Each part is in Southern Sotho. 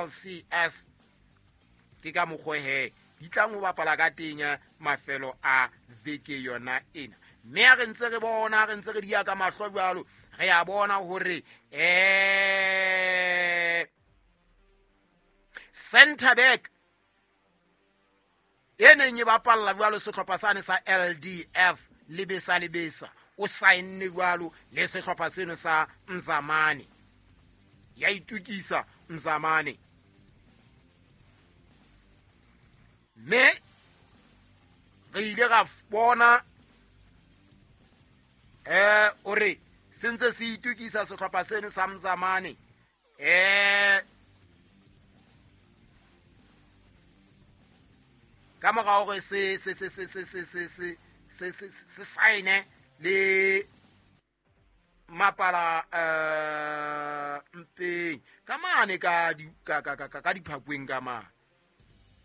LCS. Ke ka mokgwa he di tlang ho bapala ka teng mafelo a veke yona ena. Mme ha re ntse re bona, re ntse re di ya ka mahlo jwalo, re a bona hore center back e neng e bapalla jwalo sehlopha sane sa LDF Lebesa Lebesa o saenne jwalo le sehlopha seno sa Mzamane. Ya itukisa Mzamane. Mme re ile ra bona o re se ntse se itukisa sehlopha seno sa Mzamane. Ka mora hore se se se se se se se se se se se saene le mapala mpeng ka mane ka di ka ka ka ka diphakweng ka mane.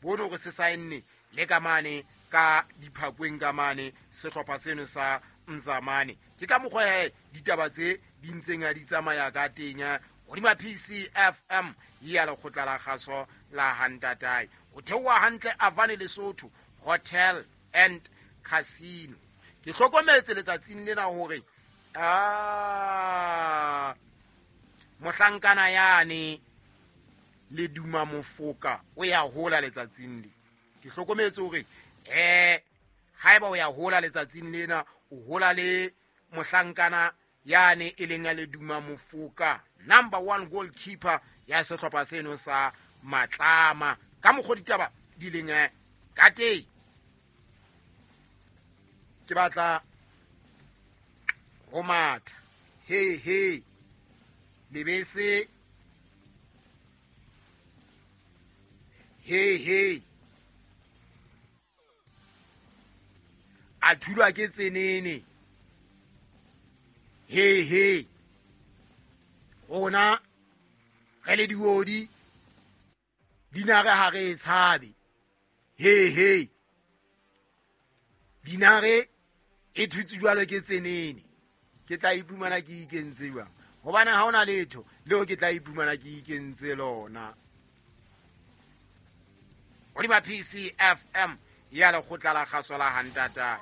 Bone hore se saenne le ka mane ka diphakweng ka mane sehlopha seno sa Mzamane. Ke ka mokgwa he ditaba tse di ntseng di tsamaya ka teng hodima PCFM ya lekgotla la kgaso la Hantatai. O theoha hantle Avane Lesotho Hotel and Casino. Ke hlokometse letsatsing lena hore mohlankana yane le duma mofoka o ya hola letsatsing le. Ke hlokometse hore haeba o ya hola letsatsing lena, o hola le mohlankana yane e leng ya le duma mofoka, number 1 goalkeeper ya sehlopha seno sa Matlama. Ka mokgwa ditaba di leng ka teng. Ke batla ho matha. He he. Lebese. He he. A thulwa ke tsenene. He he. Rona re le diodi dinare ha re tshabe. He he. Dinare e thutse jwalo ke tsenene. Ke tla iphumana ke ikentse jwang? Hobane ha hona letho leo ke tla iphumana ke ikentse lona. Hodima PCFM ya lekgotla la kgaso la Hantatai.